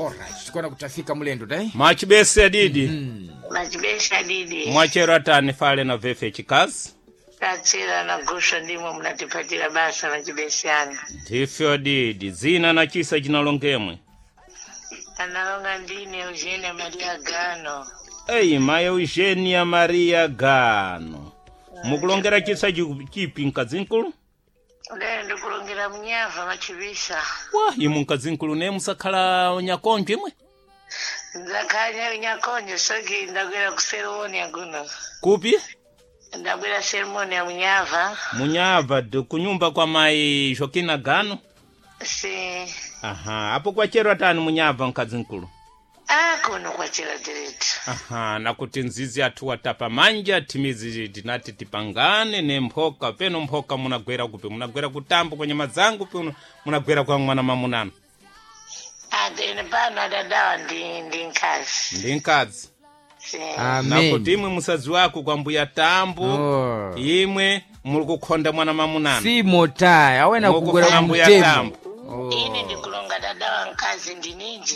Alright, tikuona kutafika mulendo dai. Mwachibese adidi. Machibesha didi. Mwachero atani fale na vefe chikazi. Tachera na gusha ndimo mnatipatira basa machibeshana. Ndifyo didi zina na chisa chinalongemwe. Analonga ndine Eugenia Maria Gano. Eyi mayi Eugenia Maria Gano. Mukulongera chisa chipi mkazinkulu? Lero ndikulongera mnyava machibisa. Wa imu mkazinkulu ne musakhala nyakonjo imwe? Nzakhanya nyakonjo soki ndagwera ku seremonia kuno. Kupi? Ndagwera seremonia munyava. Munyava kunyumba kwa mayi Joaquina Gano. Si. Aha, apo kwachero atani munyava mkazinkulu. Ah, kuno kwachera diretu. Aha, nakuti nzizi athu watapa manja timizi tinati tipangane ne mphoka peno mphoka munagwera kupi munagwera kutambo kwa nyama zangu peno munagwera kwa mwana mamunano Ah, ine pano adadawa ndi nkazi. ndi mkazi Si. Amen. nakuti imwe musadzi wako kwa mbuya tambo Oh. imwe muli kukhonda mwana mamunano Si motai, awena kugwera mukufuna mbuya kumtemo. tambo Oh. Ine ndikulonga dadawa nkazi ndininji.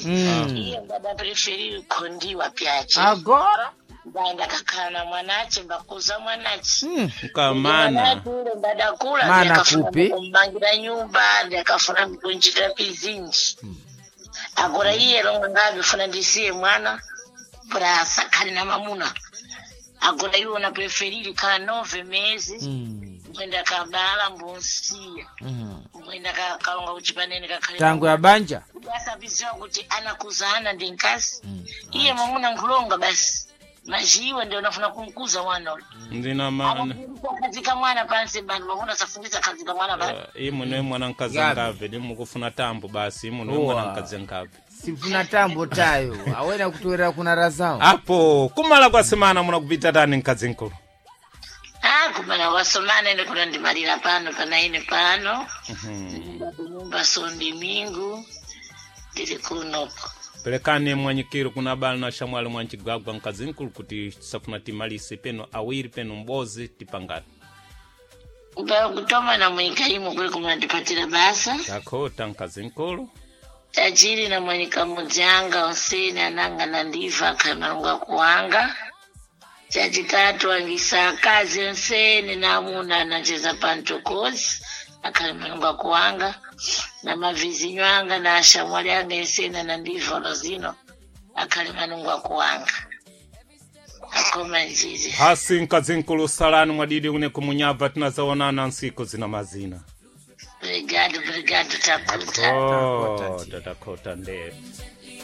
Iye ndada preferi kukhondiwa pyache. Agora? Ndaenda kakhala na mwanache mbakuza mwanache. mkamana Mwanache ule ndadakula Mana ndakafuna kupi? kumbangira nyumba ndakafuna kunjira pizinji. Agora iye longa ngabifuna ndisiye mwana pra sakhale na mamuna. Agora iwo na preferiri khala 9 mezi mbwenda kabala mbonsiya mbwenda kalonga kuchipanene kakhale Tangu ya banja. asabiziwa kuti anakuzana ndi nkasi iye mwamuna nkhulonga basi majiwe ndio unafuna kumkuza mwana ule ndina mana khazika mwana pansi bantu mwamuna safundisa khazika mwana pansi imwe niwe mwana mkazi Gabi. ngave ndimukufuna tambo basi imwe niwe Owa. mwana mkazi ngave Sifuna tambo tayo. Awena kutoera kuna razao. apo kumala kwa semana munakupita tani mkazi nkulu ah kumana wasomana ine kuna ndimalira pano pana ine pano kunyumba sondi mingu ndili kunoko pelekani mwanyikiro kuna bala na shamwali mwanchigwagwa mkazinkulu kuti safuna timalise peno awiri peno mbozi tipangane kutoma na mwika imwe kuli kumandipatira basa takhota mkazinkulu tajiri na mwanyika mudzanga onsene ananga nandiva akhamalunga kuwanga chachitatu angisa akazi onsene na amuna anacheza pantokozi akhali malunga kuwanga na mavizinyo anga na ashamwali anga ensene anandiva lozino akhali malunga kuwanga akoma njiri hasi mkazinkulu salani mwadidi kune kumunyabva tinazaonana nsiku zina mazina brigado brigado takuta takhota takhota nde